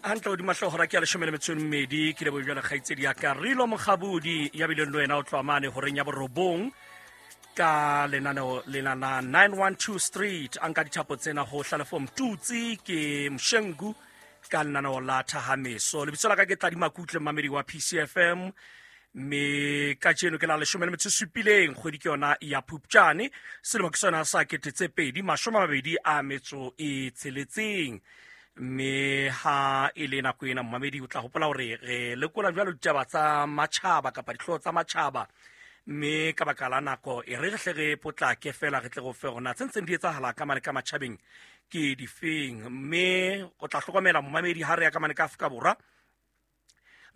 Hantle hodima hloohora ke ya 12 ke leboe jwale kgaitsedi ya ka Rilo Mokgabudi ya bileng le wena o tloha mane horeng ya 9 ka lenaneo lena la 912 Street. A nka dithapo tsena ho Hlalefo Mtutsi ke Mshengu ka lenaneo la Thahameso. Lebitso la ka ke Tladi Makutle, mmamedi wa PCFM, mme kajeno ke la 17 kgwedi ke yona ya Phupjane, selemo ke sona sa 2026. Mme ha e le nako ena, mmamedi, o tla hopola hore re lekola jwalo ditaba tsa matjhaba kapa dihlooho tsa matjhaba, mme ka baka la nako e re re hle re potlake fela re tle go fe rona tse ntseng di etsahala ka mane ka matjhabeng ke difeng. Mme o tla hlokomela, momamedi, ha re ya ka mane ka Afrika Borwa,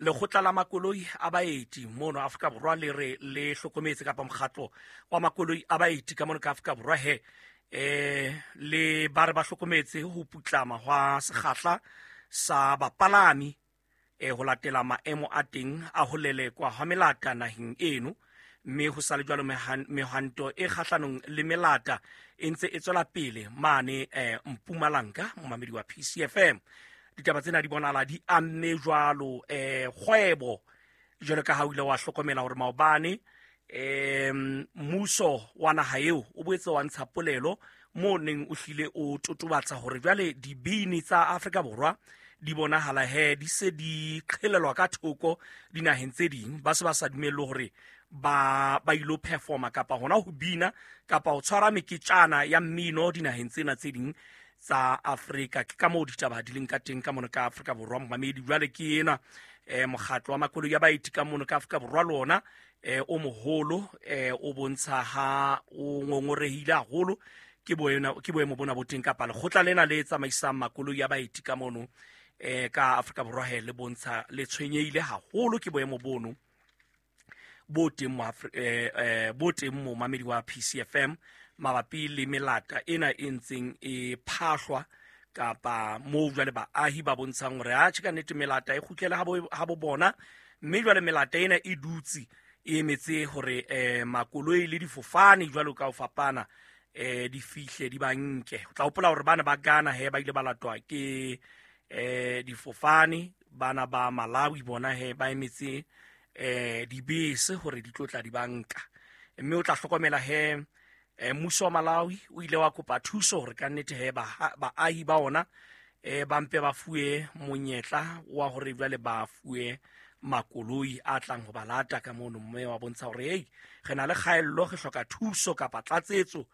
lekgotla la makoloi a baeti mono Afrika Borwa le re le hlokometse, kapa mokgatlo wa makoloi a baeti ka mono ka Afrika Borwa he le ba re ba hlokometse ho putlama hwa sekgahla sa bapalami ho latela maemo a teng a ho lelekwa hwa melata naheng eno. Mme ho sale jwalo mehwanto e kgahlanong le melata e ntse e tswela pele mane Mpumalanga. Momamedi wa PCFM, ditaba tsena di bonahala di amme jwalo kgwebo, jwalo ka ha o ile wa hlokomela hore maobane mmuso wa naha eo o boetse wa ntsha polelo mo neng o hlile o totobatsa hore jwale dibini tsa Afrika Borwa di bonahala he di se di qhelelwa ka thoko dinaheng tse ding, ba se ba sa dumellwe hore ba ilo performa kapa hona ho bina kapa ho tshwara meketjana ya mmino dinaheng tsena tse ding tsa Afrika. Ke ka moo ditaba di leng ka teng ka mono ka Afrika Borwa, momamedi. Jwale ke ena mokgatlo wa makoloi ya baeti ka mono ka Afrika Borwa le ona o moholo o bontsha ha o ngongorehile haholo ke boemo bona bo teng, kapa lekgotla lena le tsamaisang makoloi ya baeti ka mono ka Afrika Borwa he le bontsha le tshwenyehile haholo ke boemo bono bo teng mo bo teng mo, mamedi wa PCFM, mabapi le melata ena e ntseng e phahlwa, kapa moo jwale baahi ba bontshang hore a tjhe, ka nnete melata e kgutlele ha bo bona. Mme jwale melata ena e dutse e emetse hore makoloi le difofane jwalo ka ho fapana di fihle di ba nke. O tla hopola hore bana ba Ghana he ba ile ba latwa ke difofane, bana ba Malawi bona he ba emetse dibese hore di tlo tla di banka. Mme o tla hlokomela he mmuso wa Malawi o ile wa kopa thuso hore ka nnete he baahi ba ona ba mpe ba fuwe monyetla wa hore jwale ba fuwe makoloi a tlang ho ba lata ka mono, mme wa bontsha hore hei, re na le kgaello, re hloka thuso kapa tlatsetso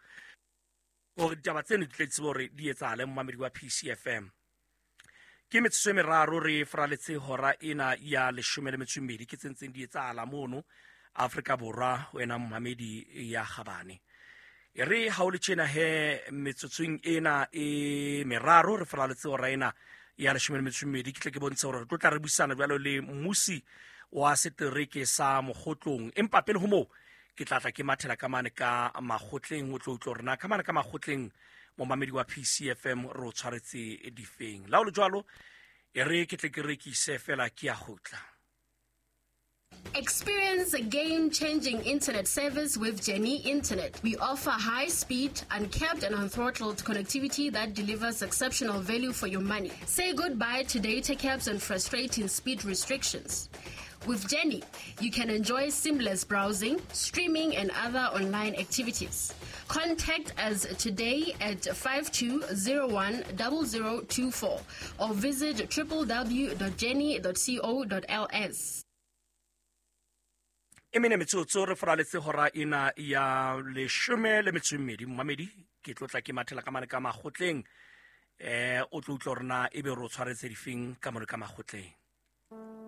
hore ditaba tseno di tle di tsebe hore di etsahale. Momamedi wa PCFM, ke metsotso e 3 re fraletse hora ena ya 12. Ke tse ntseng di etsahala mono Afrika Borwa, wena momamedi ya kgabane. E re ha o le tjena he metsotsong ena e 3 re fraletse hora ena ya 12, ke tle ke bontshe hore re tlo tla re buisana jwalo le mmusi wa setereke sa Mokgotlong. Empa pele ho moo ke tla tla ke mathela ka mane ka makgotleng, o tlo utlwa hore na ka mane ka makgotleng, momamedi wa PCFM, re o tshwaretse difeng. La ho le jwalo, e re ke tle ke rekise fela, ke ya kgutla. Experience a game changing internet service with Jenny Internet. We offer high speed, uncapped, and unthrottled connectivity that delivers exceptional value for your money. Say goodbye to data caps and frustrating speed restrictions. With Jenny, you can enjoy seamless browsing, streaming, and other online activities. Contact us today at 52010024 or visit www.jenny.co.ls. E mene metsotso re foraletse hora ena ya 12, momamedi. Ke tlo tla ke mathela ka mane ka makgotleng, o tlo utlwa hore na ebe re o tshwaretse difeng ka mane ka makgotleng.